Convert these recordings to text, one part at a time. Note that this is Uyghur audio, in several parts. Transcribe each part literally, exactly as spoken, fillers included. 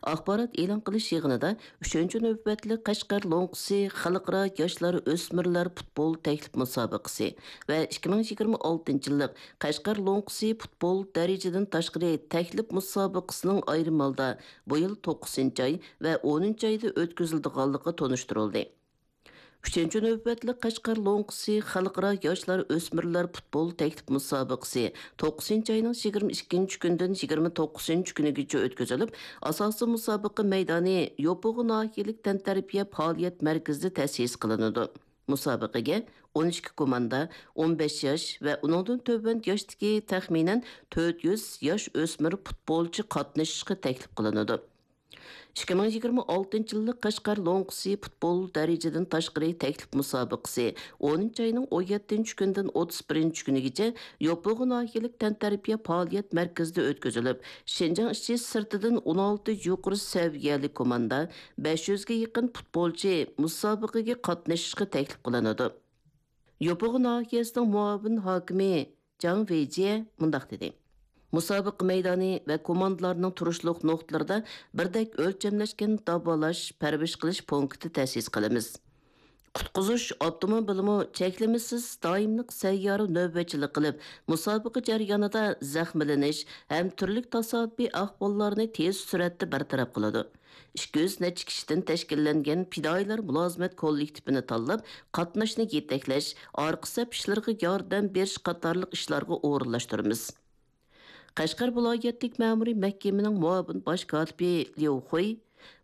ئاخبارات ئېلان قىلىش يىغىنىدا ئۈچىنچى نۆۋەتلىك قەشقەر لوڭقىسى خەلقئارا ياشلار ئۆسمۈرلەر پۇتبول تەكلىپ مۇسابىقىسى ۋە ئىككى مىڭ يىگىرمە ئالتىنچى يىللىق قەشقەر لوڭقىسى پۇتبول دەرىجىدىن تاشقىرى تەكلىپ مۇسابىقىسىنىڭ ئايرىم ھالدا بۇ يىل توققۇزىنچى ئاي ۋە ئونىنچى ئايدا ئۆتكۈزۈلىدىغانلىقى تونۇشتۇرۇلدى. ئۈچىنچى نۆۋەتلىك قەشقەر لوڭقىسى خەلقئارا ياشلار ئۆسمۈرلەر پۇتبول تەكلىپ مۇسابىقىسى توققۇزىنچى ئاينىڭ يىگىرمە ئىككىنچى كۈنىدىن يىگىرمە توققۇزىنچى كۈنىگىچە ئۆتكۈزۈلۈپ، ئاساسىي مۇسابىقە مەيدانى يوپۇغا ناھىيەلىك تەنتەربىيە پائالىيەت مەركىزىدە تەسىس قىلىنىدۇ. مۇسابىقىگە ئون ئىككى كوماندا، ئون بەش ياش ۋە ئۇنىڭدىن تۆۋەن ياشتىكى تەخمىنەن تۆت يۈز ياش ئۆسمۈر پۇتبولچى قاتنىشىشقا تەكلىپ قىلىنىدۇ. ئىككى مىڭ يىگىرمە ئالتىنچى يىللىق قەشقەر لوڭقىسى پۇتبول دەرىجىدىن تاشقىرى تەكلىپ مۇسابىقىسى ئونىنچى ئاينىڭ ئون يەتتىنچى كۈنىدىن ئوتتۇز بىرىنچى كۈنىگىچە يوپۇرغا ناھىيەلىك تەنتەربىيە پائالىيەت مەركىزىدە ئۆتكۈزۈلۈپ، شىنجاڭ ئىچى سىرتىدىن ئون ئالتە يۇقىرى سەۋىيەلىك كوماندا، بەش يۈزگە يېقىن پۇتبولچى مۇسابىقىگە قاتنىشىشقا تەكلىپ قىلىنىدۇ. يوپۇرغا ناھىيەسىنىڭ مۇئاۋىن ھاكىمى جاڭ ۋېيجيې مۇنداق دېدى: مۇسابىقە مەيدانى ۋە كوماندىلارنىڭ تۇرۇشلۇق نۇقتىلىرىدا بىردەك ئۆلچەملەشكەن داۋالاش، پەرۋىش قىلىش پونكىتى تەسىس قىلىمىز. قۇتقۇزۇش ئاپتوموبىلىمۇ چەكلىمىسىز دائىملىق سەييارە نۆۋەتچىلىك قىلىپ، مۇسابىقە جەريانىدا زەخىملىنىش ھەم تۈرلۈك تاسادىپىي ئەھۋاللارنى تېز سۈرئەتتە بىر تەرەپ قىلىدۇ. ئىككى يۈز نەچچە كىشىدىن تەشكىللەنگەن پىدائىيلار مۇلازىمەت كوللېكتىپىنى تاللاپ، قاتناشنى يېتەكلەش، ئارقا سەپ ئىشلىرىغا ياردەم بېرىش قاتارلىق ئىشلارغا ئورۇنلاشتۇرىمىز. قەشقەر ۋىلايەتلىك مەمۇرىي مەھكىمىنىڭ مۇئاۋىن باش كاتىپى ليۇ خۇي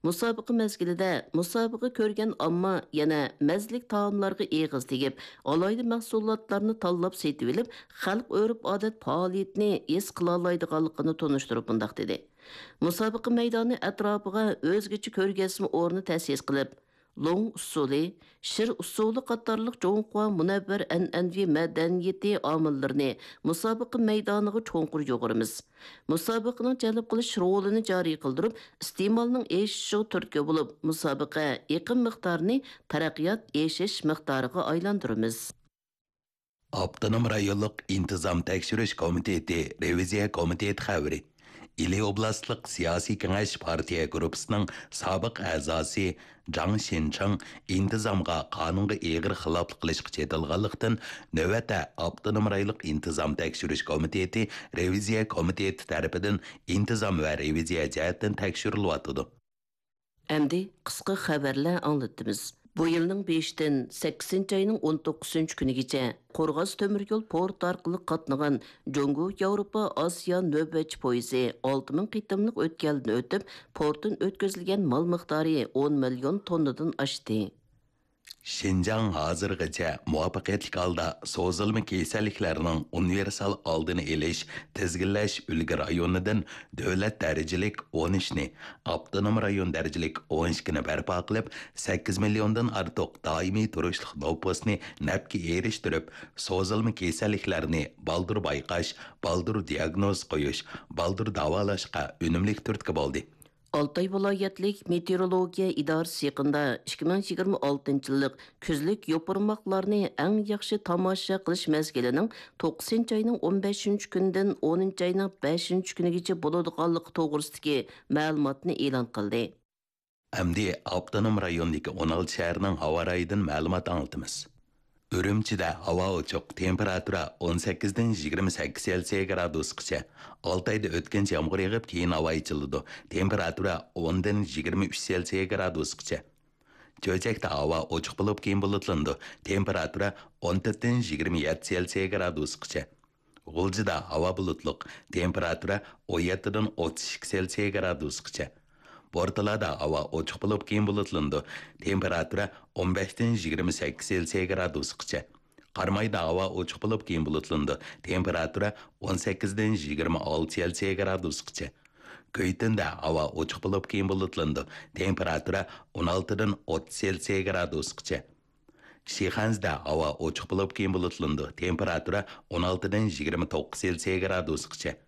مۇسابىقە مەزگىلىدە مۇسابىقە كۆرگەن ئامما يەنە مەززىلىك تائاملارغا ئېغىز تېگىپ، ئالاھىدە مەھسۇلاتلارنى تاللاپ سېتىۋېلىپ، خەلق ئۆرپ-ئادەت پائالىيىتىنى ھېس قىلالايدىغانلىقىنى تونۇشتۇرۇپ مۇنداق دېدى: مۇسابىقە مەيدانى ئەتراپىغا ئۆزگىچە كۆرگەزمە ئورنى تەسىس قىلىپ، لوڭ ئۇسسۇلى، شىر ئۇسسۇلى قاتارلىق جۇڭخۇا مۇنەۋۋەر ئەنئەنىۋى مەدەنىيىتى ئامىللىرىنى مۇسابىقە مەيدانىغا چوڭقۇر يۇغۇرىمىز. مۇسابىقىنىڭ جەلپ قىلىش رولىنى جارى قىلدۇرۇپ، ئىستېمالنىڭ ئېشىشىغا تۈرتكە بولۇپ، مۇسابىقە ئېقىم مىقدارىنى تەرەققىيات ئېشىش مىقدارىغا ئايلاندۇرىمىز. ئاپتونوم رايونلۇق ئىنتىزام تەكشۈرۈش كومىتېتى رېۋىزىيە كومىتېتى خەۋىرى. ئىلى ئوبلاستلىق سىياسىي كېڭەش پارتىيە گۇرۇپپىسىنىڭ سابىق ئەزاسى جاڭ شىنچىڭ ئىنتىزامغا، قانۇنغا ئېغىر خىلاپلىق قىلىشقا چېتىلغانلىقتىن، نۆۋەتتە ئاپتونوم رايونلۇق ئىنتىزام تەكشۈرۈش كومىتېتى رېۋىزىيە كومىتېتى تەرىپىدىن ئىنتىزام ۋە رېۋىزىيە جەھەتتىن تەكشۈرۈلۈۋاتىدۇ. ئەمدى قىسقا خەۋەرلەر ئاڭلىتىمىز. بۇ يىلنىڭ بېشىدىن سەككىزىنچى ئاينىڭ ئون توققۇزىنچى كۈنىگىچە قورغاس تۆمۈر يول پورتى ئارقىلىق قاتنىغان جۇڭگو ياۋروپا ئاسىيا نۆۋەتچى پويىزى ئالتە مىڭ قېتىملىق ئۆتكەلدىن ئۆتۈپ، پورتتىن ئۆتكۈزۈلگەن مال مىقدارى ئون مىليون توننىدىن ئاشتى. شىنجاڭ ھازىرغىچە مۇۋەپپەقىيەتلىك ھالدا سوزۇلما كېسەللىكلەرنىڭ ئۇنىۋېرسال ئالدىنى ئېلىش، تىزگىنلەش ئۈلگە رايونىدىن دۆلەت دەرىجىلىك ئون ئۈچنى، ئاپتونوم رايون دەرىجىلىك ئون ئىككىنى بەرپا قىلىپ، سەككىز مىليوندىن ئارتۇق دائىمىي تۇرۇشلۇق نوپۇسنى نەپكە ئېرىشتۈرۈپ، سوزۇلما كېسەللىكلەرنى بالدۇر بايقاش، بالدۇر دىياگنوز قويۇش، بالدۇر داۋالاشقا ئۈنۈملۈك تۈرتكە بولدى. ئالتاي ۋىلايەتلىك مېتېئورولوگىيە ئىدارىسى يېقىندا ئىككى مىڭ يىگىرمە ئالتىنچى يىللىق كۈزلۈك يوپۇرماقلارنى ئەڭ ياخشى تاماشا قىلىش مەزگىلىنىڭ توققۇزىنچى ئاينىڭ ئون بەشىنچى كۈنىدىن ئونىنچى ئاينىڭ بەشىنچى كۈنىگىچە بولىدىغانلىقى توغرىسىدىكى مەلۇماتنى ئېلان قىلدى. ئەمدى ئاپتونوم رايوندىكى ئون ئالتە شەھەرنىڭ ھاۋا رايىدىن مەلۇمات ئاڭلىتىمىز. ئۈرۈمچىدە ھاۋا ئوچۇق، تېمپېراتۇرا ئون سەككىزدىن يىگىرمە سەككىز سېلسىيە گرادۇسقىچە. ئالتايدا ئۆتكۈنچى يامغۇر يېغىپ، كېيىن ھاۋا ئېچىلىدۇ. تېمپېراتۇرا ئوندىن يىگىرمە ئۈچ سېلسىيە گرادۇسقىچە. چۆچەكتە ھاۋا ئوچۇق بولۇپ، كېيىن بۇلۇتلىنىدۇ. تېمپېراتۇرا ئون تۆتتىن يىگىرمە يەتتە سېلسىيە گرادۇسقىچە. غۇلجىدا ھاۋا بۇلۇتلۇق، تېمپېراتۇرا ئون يەتتىدىن ئوتتۇز ئىككى سېلسىيە گرادۇسقىچە. بورتالادا ھاۋا ئوچۇق بولۇپ، كېيىن بۇلۇتلىنىدۇ. تېمپېراتۇرا ئون بەشتىن يىگىرمە سەككىز سېلسىيە گرادۇسقىچە. قارامايدا ھاۋا ئوچۇق بولۇپ، كېيىن بۇلۇتلىنىدۇ. تېمپېراتۇرا ئون سەككىزدىن يىگىرمە ئالتە سېلسىيە گرادۇسقىچە. كۆيتۈندە ھاۋا ئوچۇق بولۇپ، كېيىن بۇلۇتلىنىدۇ. تېمپېراتۇرا ئون ئالتىدىن ئوتتۇز سېلسىيە گرادۇسقىچە. شىخەنزىدە ھاۋا ئوچۇق بولۇپ، كېيىن بۇلۇتلىنىدۇ. تېمپېراتۇرا ئون ئالتىدىن يىگىرمە توققۇز سېلسىيە گرادۇسقىچە.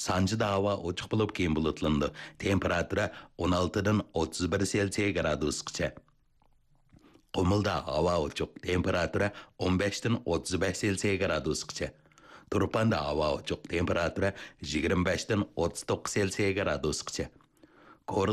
سانجىدا ھاۋا ئوچۇق بولۇپ، كېيىن بۇلۇتلىنىدۇ. تېمپېراتۇرا ئون ئالتىدىن ئوتتۇز بىر سېلسىيە گرادۇسقىچە. قۇمۇلدا ھاۋا ئوچۇق، تېمپېراتۇرا ئون بەشتىن ئوتتۇز بەش سېلسىيە گرادۇسقىچە. تۇرپاندا ھاۋا ئوچۇق، تېمپېراتۇرا يىگىرمە بەشتىن ئوتتۇز توققۇز سېلسىيە گرادۇسقىچە.